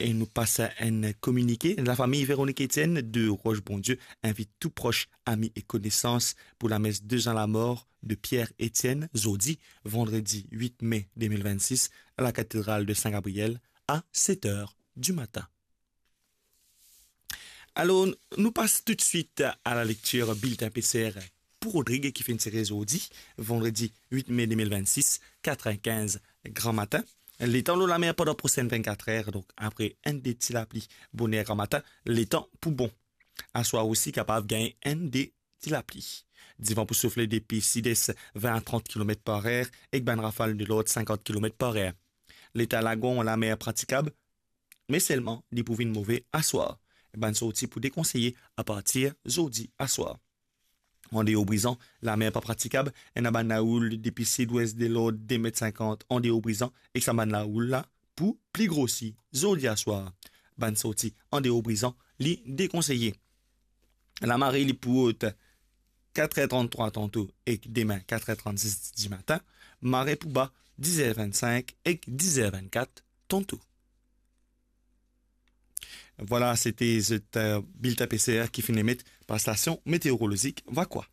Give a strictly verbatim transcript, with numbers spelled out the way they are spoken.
E nou pas enn kominike. Lafami Véronique Etienne de Roche Bondieu invit tou pros, ami e konesans pou lames de zan lamor de Pierre Etienne, zordi, vandredi wit me de mil vennsis, a la katedral de Saint Gabriel, a set er di matin. Alor, nou pas toutswit a la lektir biltin P C R pou Rodrig ki finn tire zordi, vandredi wit me de mil vennsis, kat er kinz gramatin. Letan lor lamer pandan prosin vennkat er, donk apre enn de ti lapli boner gramatin, letan pou bon. Aswar osi kapav gagn enn de ti lapli. Divan pou soufle depi sides vin a trant kilomet par er ek bann rafal de lord sinkant kilomet par er. Leta lagon, lamer pratikab, me selman li pou vinn move aswar. Bann sorti pou dekonseye apartir zordi aswar. Andeor Brizan, lamer pa pratikab, ena bann laoul depi sidwes de lord de met sinkant andeor Brizan, ek sa bann laoul la pou pli grosi zordi aswar. Bann sorti andeor Brizan, li dekonseye. Lamare li pou rod kat er trant trwa tanto ek demin kat er trant sis dimatin, mare pou ba diz er vinn sink ek diz er vinn kat tanto. Vwala, sete zot, eh, biltin P C R ki finn emet par stasion meteorolozik Vacoas.